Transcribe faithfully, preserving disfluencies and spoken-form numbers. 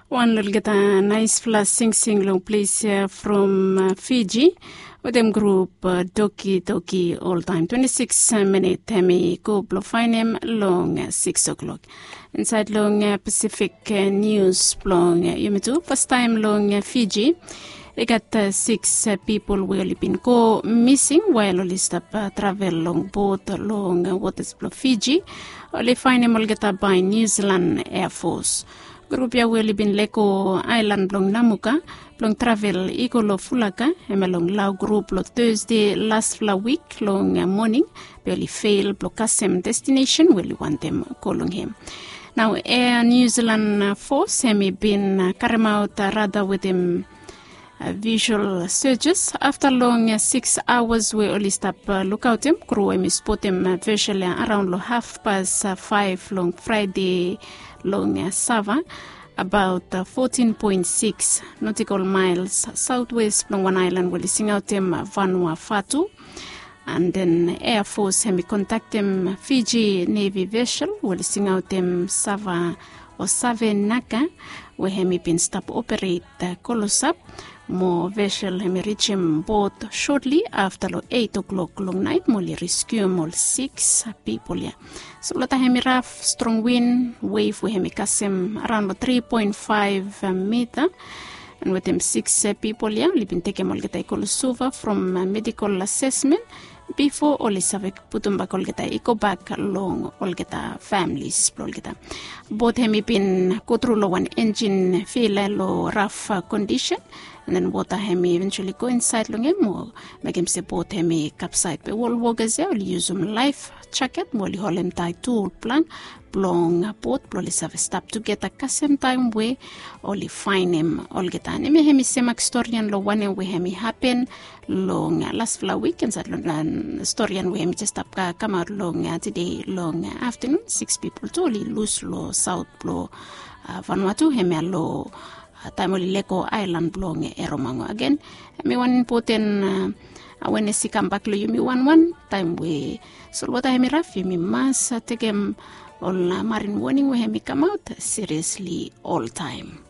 Wan olgeta naispela singsing long ples ya from Fiji wetem grup Doki Doki. Oltaem twenti sikis minit hem i go blong faenem long sikis oklok. Insaed long Pasifik nius blong yumi tu, fastaem long Fiji i gat sikis pipol we oli bin go mising wael oli stap travel long bot long wotas blong Fiji. Oli faenem olgeta bae Niu Silan Air Fos. Grup ya we oli bin lego aelan blong Namuka blong travel i go long Fulaka, hemia long Lau grup long Tasde lasfala wik long moning, be oli fel blong kasem destinesen we oli wantem go long hem. Nao Air New Zealand Force hem i bin karemaot rada wetem visual searches afta long sikis aoas we oli stap lukaotem. Kru hem i spotem vesel ya araon long hafpas faef long Fraede long Sava, abaot fotin poen sikis notikol maels saotwes blong wan aelan we oli singaotem Vanuavatu. An den Air Fos hem i kontaktem Fiji Nevi vesel we oli singaotem Sava o Savenaka, we hem i bin stap operet klosap. Mo vesel hem i rijim bot sotli afta long eit oklok long naet mo oli reskium ol sikis pipol ya. Solwota hem i raf, strong win, wef we hem i kasem araon long tri poen faef mita. An wetem sikis pipol ya oli bin tekem olgeta i go long Suva from medikol asesmen bifo oli save putumbak olgeta i gobak long olgeta familis blong olgeta. Bot hem i bin gotru long wan enjin fela long raf kondisen, an den wota hem i eventuali go insaed long hem mo mekem se bot hem i kapsaed. Be ol wokas ya oli yusum laef jaket mo oli holemtaet tu ol plank blong bot blong oli save stap tugeta kasem taem we oli faenem olgeta. An hemia hem i semak storian long wanem we hem i hapen long lasfala wik insaed long storian we hem i jes stap kamaot long tede long aftanun. Sikis pipol tu oli lus long saot blong Vanuatu, hemia long taem oli lego aelan blong Eromango agen. Hem i wan impoten awenes i kambak long yumi wanwan. Taem we solwota hem i raf, yumi mas tekem ol marin woning we hem i kamaot siriesli oltaem.